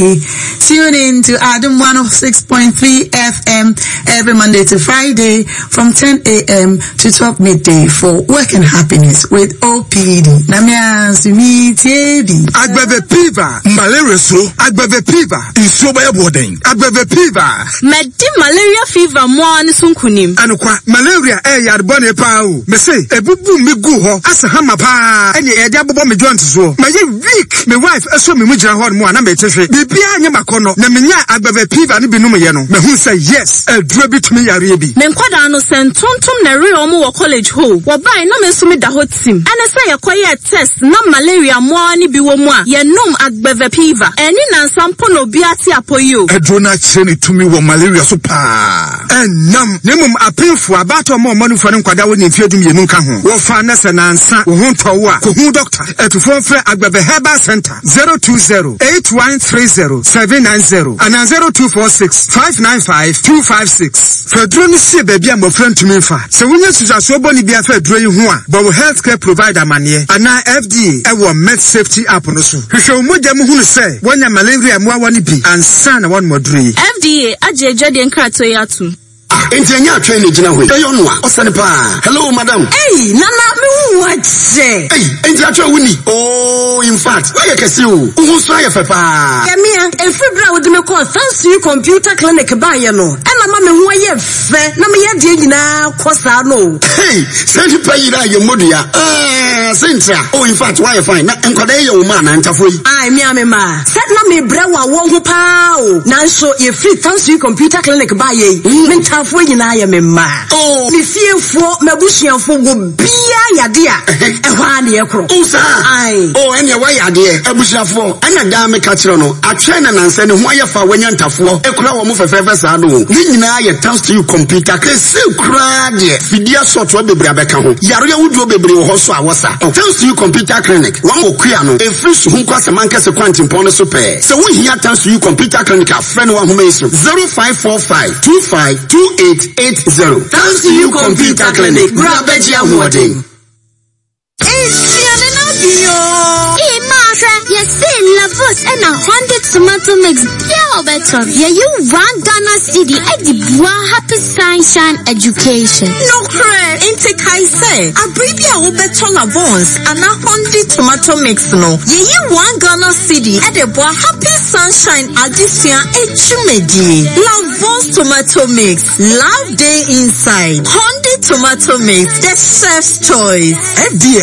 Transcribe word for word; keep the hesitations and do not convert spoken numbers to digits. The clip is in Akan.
P D. Tune in to Adom one oh six point three F M every Monday to Friday from ten a m to twelve midday for Work and Happiness with O P D. Na me T B. Agbeve Piva, malaria suro. Agbeve Piva, nsuo bɛyɛ boɔden. Agbeve Piva. Mɛdi malaria fever mmoa ne so nkonim. Anokwa, malaria ɛyɛ yarebɔne paa o. Mese, ebubu mi gu hɔ, asa hama paa, ɛne ɛde abobɔ me joint soɔ. Mayɛ weak, me wife ɛso me mu gyina hɔ nom a na mete hwe. Biribiara nyɛ makɔnnɔ, na menya Agbeve Piva no bi nom yɛ no. Mahu sɛ yes, aduro bi tumi yareɛ bi. Me nkwadaa no sɛ ntontom na ɛre wɔn wɔ college hɔ. Wɔbae na me nso meda hɔ tim. Ɛne sɛ yɛkɔyɛɛ test na malaria mmoawa no bi wɔ mu a, yɛnom Agbeve Piva. Ɛne nansa mpo na obi ate apɔ yi o. Aduro no akyerɛ ne tumi wɔ malaria so paa. Ɛnam, na mmom apemfo abaatɔ ma ɔma nufoɔ ne nkwadaa wɔ ne mfeɛ dumienu nka ho. Wɔfa na sɛ nansa wo ho ntɔ wo a, kɔhu dɔkta. Atufoɔ mfrɛ Agbeve Herbal Center zero two zero eight one three zero seven nine zero anaa zero two four six five nine five two five six. Fa aduro no sie baabi a mmɔfra ntumi mfa. Sɛ wonya nsusuasoɔ bɔne bi afa aduro yi ho a, bɔ wo healthcare provider amanneɛ anaa F D A ɛwɔ Med Safety app no so. Hwehwɛ wo mogya mu hunu sɛ woanya malaria mmoawa no bi ansa na woanom aduro yi. F D A agye adwadeɛ nkratoɔ yi atom. Enti ɛnyɛ atwɛn na gyina hɔ yi, ɛyɛ ɔno a ɔsɛne paa. Hello, madam. Ei, Nana, mehu wo akyɛ. Ei, enti atwɛn wo ni? Oh, in fact, woayɛ kɛse o. Wo ho nso ayɛ fɛ paa. Yɛmea, ɛfiri berɛ a wode me kɔɔ Thanks Computer Clinic baeɛ no, ɛna ma me ho ayɛ fɛ na meyɛ deɛ nyinaa kɔ saa no. Hey, sɛ nipa yiri a yɛ mmɔdua sɛ ntra. Oh, in fact, woayɛ fine. Na nkwadaa yi yɛ wo ma anaa ntafoɔ yi? Ai, mea me ma sɛ na mebrɛ wɔ awɔ ho paa o, nanso yɛfiri Thanks Computer Clinic baeɛ yi, me ntaafoɔ nyinaa yɛ me mma. Oh. Me fiefoɔ, m'abusuafoɔ wɔ biaa yade a ɛhɔ a ne yɛkorɔ. Oh, saa? Ai. Oh, ɛneɛ woayɛ adeɛ. Abusuafoɔ, ɛna daa meka kyerɛ no, atwɛn na nansɛ ne ho ayɛ fa wanya ntafoɔ ɛkura wɔ mo fɛfɛɛfɛ saa no o. Ne nyinaa yɛ Thanks to You Computer. Kɛse koraa deɛ, fidie asɔtoɔ bebree abɛka ho. Yareɛ ahodoɔ bebree wɔ hɔ so a wɔsa. Thanks to You Computer Clinic, wɔn wɔ kua no, ɛfiri Suhum kɔ Asamankɛse kwantempɔn no so pɛɛ. Sɛ wohia Thanks to You Computer Clinic a, frɛ no wɔ ahoma yi so: zero five four five two five two eight eight zero. Thanks to You Computer Clinic, bra bɛgye ahoɔden. Nsuane no bio. Ee, maahwɛ, yɛse Lavos ɛna Hundred tomato mix bia a wɔbɛtɔ no, yɛyi one Ghana cedi ɛde boa Happy Sunshine Education. Nokorɛ, nti kae sɛ abere bi a wobɛtɔ Lavons anaa Hondi tomato mix no, yɛyi one Ghana cedi ɛde boa Happy Sunshine adesua adwumadie. Lavons tomato mix, love day inside. Hondi tomato mix, the chef's choice. F D A.